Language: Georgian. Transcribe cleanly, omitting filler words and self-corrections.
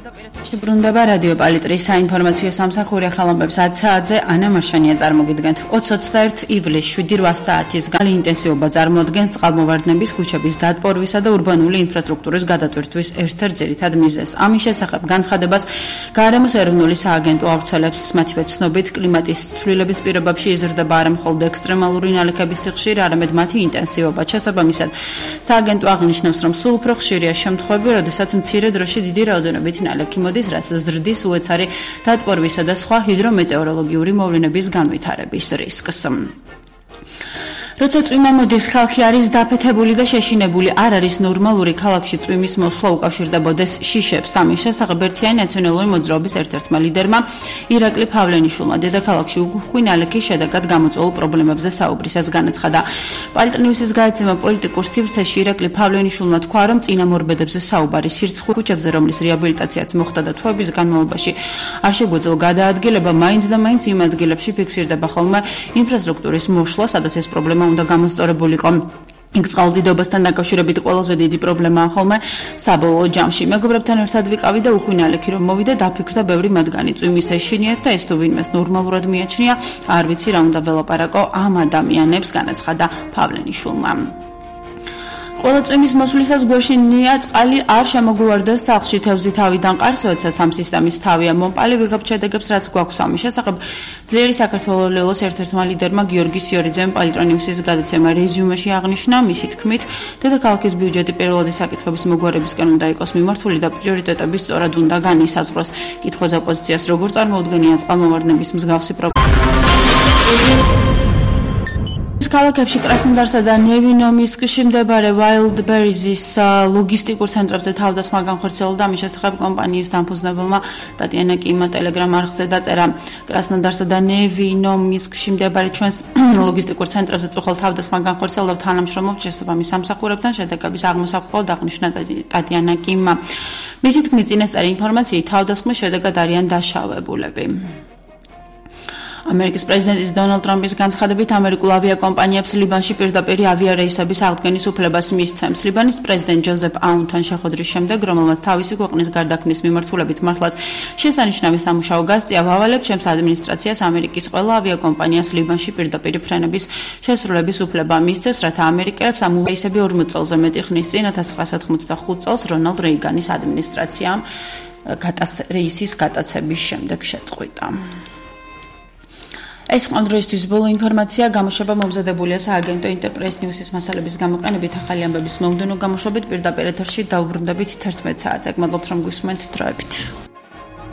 ბრუნდება რადიო პალიტრის საინფორმაციო სამსახური ახალამბებს 10 საათზე ანა მარშანია წარმოგიდგენთ. 2021 ივლის 7-8 საათის გალი ინტენსივობა წარმოადგენს წყალმოვარდნების ქუჩების დატბორვისა და ურბანული ინფრასტრუქტურის გადატვირთვის ერთ-ერთ ძირითად მიზეზს. ამის შესახებ განცხადებას გარემოს ეროვნული სააგენტო ავრცელებს. მათივე ცნობით, კლიმატის ცვლილების პირობებში იზრდება არა მხოლოდ ექსტრემალური ნალექების სიხშირე, არამედ მათი ინტენსივობა. შესაბამისად, სააგენტო აღნიშნავს, რომ სულ უფრო ხშირია შემთხვევები, როდესაც მცირე დროში დიდი რაოდენობით ნალექი მოდის, რაც ზრდის უეცარი დატბორვისა და სხვა ჰიდრომეტეოროლოგიური მოვლენების განვითარების რისკს. როცა წვიმა მოდის, ხალხი არის დაფეთებული და შეშინებული. არ არის ნორმალური ქალაქში წვიმის მოსვლა უკავშირდებოდეს შიშებს. ამის შესახებ ერთიანი ნაციონალური მოძრაობის ერთ-ერთმა ლიდერმა ირაკლი ფავლენიშვილმა დედაქალაქში უხვი ნალექის შედეგად გამოწვეულ პრობლემებზე საუბრისას განაცხადა. პალიტნიუსის გააცემა პოლიტიკურ სივრცეში ირაკლი ფავლენიშვილმა თქვა, რომ წინამორბედებზე საუბარი სირცხვილ ქუჩებზე, რომლის რეაბილიტაციაც მოხდა და თვეების განმავლობაში არ შეგვეძლო გადაადგილება, მაინც და მაინც იმ ადგილებში ფიქსირდება ხოლმე ინფრასტრუქტურის მოშლა, სადაც ეს პრობლემა უნდა გამოსწორებულიყო. იქ წყალდიდობასთან დაკავშირებით ყველაზე დიდი პრობლემაა ხოლმე საბოლოო ჯამში. მეგობრებთან ერთად ვიყავი და უხვი ნალექი რომ მოვიდა, დაფიქრდა ბევრი მათგანი წვიმის ეშინიათ და ეს თუ ვინმეს ნორმალურად მიაჩნია, არ ვიცი რა უნდა ველაპარაკო ამ ადამიანებს, განაცხადა ფავლენიშვილმა. ყველა წვიმის მოსვლისას გვეშინია წყალი არ შემოგვივარდეს სახლში, თევზი თავიდან ყარს, როდესაც ამ სისტემის თავია მომპალი, ვიღებთ შედეგებს, რაც გვაქვს ამის შესახებ. ძლიერი საქართველოს ერთ-ერთმა ლიდერმა გიორგი სიორიძემ პალიტრონიუსის გადაცემა რეზიუმეში აღნიშნა, მისი თქმით, დედაქალაქის ბიუჯეტი პირველადი საკითხების მოგვარებისკენ უნდა იყოს მიმართული და პრიორიტეტები სწორად უნდა განისაზღვროს. კითხვაზე ოპოზიციას როგორ წარმოუდგენია წყალმოვარდნების მსგავსი ქალაქებში კრასნოდარსა და ნევინომისკში მდებარე Wildberries-ის ლოგისტიკურ ცენტრებზე თავდასხმა განხორციელდა. ამის შესახებ კომპანიის დამფუძნებელმა ტატიანა კიმმა ტელეგრამ არხზე დაწერა. კრასნოდარსა და ნევინომისკში მდებარე ჩვენს ლოგისტიკურ ცენტრებზე წუხელ თავდასხმა განხორციელდა, თანამშრომლობთ შესაბამის სამსახურებთან, შედეგების აღმოსახვად აღნიშნა ტატიანა კიმმა. მისი თქმით, წინასწარი ინფორმაციით თავდასხმის შედეგად არიან დაშავებულები. ამერიკის პრეზიდენტის დონალდ ტრამპის განცხადებით, ამერიკულ ავიაკომპანიებს ლიბანში პირდაპირ ავიარეისების აღდგენის უფლებას მისცემს. ლიბანის პრეზიდენტ ჯოზეფ აუნთან შეხვედრის შემდეგ, რომელმაც თავისი ქვეყნის გარდაქმნის მიმართულებით მართლაც შესანიშნავი სამუშაო გასწია, ვავალებ ჩემს ადმინისტრაციას ამერიკის ყველა ავიაკომპანიას ლიბანში პირდაპირ ფრენების შესრულების უფლება მისცეს, რათა ამერიკელებს ამ რეისები 40 წელზე მეტი ხნის წინ 1985 წელს რონალდ რეიგანის ადმინისტრაციამ რეისის გატაცების შემდეგ შეწყვიტა. ეს იყო დღეისთვის ბოლო ინფორმაცია. გამოშვება მომზადებულია სააგენტო ინტერპრეს ნიუსის მასალების გამოყენებით. ახალი ამბების მომდევნო გამოშვებით პირდაპირ ეთერში დაუბრუნდებით 11 საათზე. გმადლობთ რომ გვისმენთ დროებით.